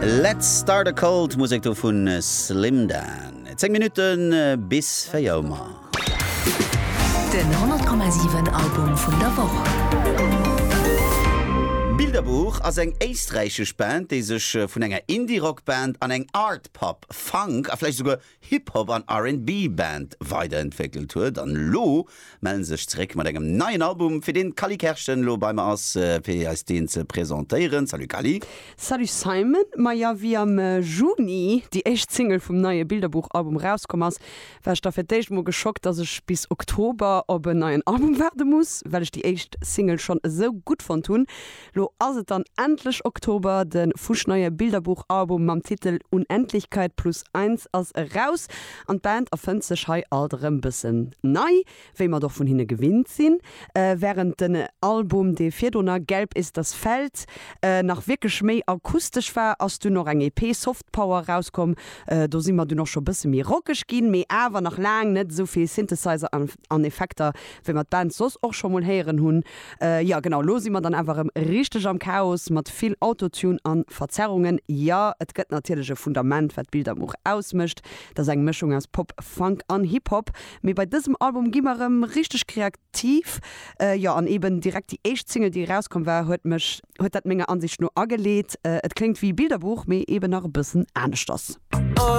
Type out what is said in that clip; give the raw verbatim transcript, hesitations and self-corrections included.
Let's Start a Cult, Musek do vun Slim Dan. Zéng Minutte bis véier Auer. Den honnert Komma siwen Album vun der Woch. Bilderbuch ass eng éisträichesch Band, déi sech vun enger Indie-Rock-Band an eng Art-Pop, Funk a vläicht souguer Hip-Hop an R and B-Band weiderentwéckelt huet. An elo melle sech zeréck mat engem neien Album, fir deen d'Cally Kerschen elo bei mer ass, fir eis deen ze presentéieren. Salut Cally. Salut Simon. Maja, wéi am Juni déi éischt Single vum neie Bilderbuch-Album rauskomm ass, war ech da fir d'éischt mol geschockt, dass ech bis Oktober op en neien Album waarde muss, well ech déi éischt Single schonn esou gutt fonnt hunn. Lo ass et dann endlech Oktober, de fuschneie Bilderbuch-Album mam Titel Unendlichkeit plus eins ass eraus an d'Band erfënnt sech hei alt erëm bëssen nei, wéi mer et och vun hinne gewinnt sinn. Wärend den Album, dee virdrunner Gelb ist das Feld nach wierklech méi akustesch war, ass dunn och eng E P Soft Power rauskomm. Do si mer dunn och scho bësse méi rockeg ginn, mee awer nach laang net esou vill Synthesizer an Effekter, wéi mer d'Band soss och scho mol héieren hunn. Jo genau, lo si mer dann awer erëm richteg am Chaos mat vill Autotune an Verzerrungen. Jo, et gëtt natierlech e Fundament, wat Bilderbuch ausmécht, dat ass eng Mëschung aus Pop, Funk an Hip-Hop, mee bei dësem Album gi mer erëm richteg kreativ. Jo, an eben direkt déi éischt Single, déi erauskomm war, huet mech huet dat menger Ansicht no ageleet. Et kléngt wéi Bilderbuch, mee eben nach e bëssen aneschters.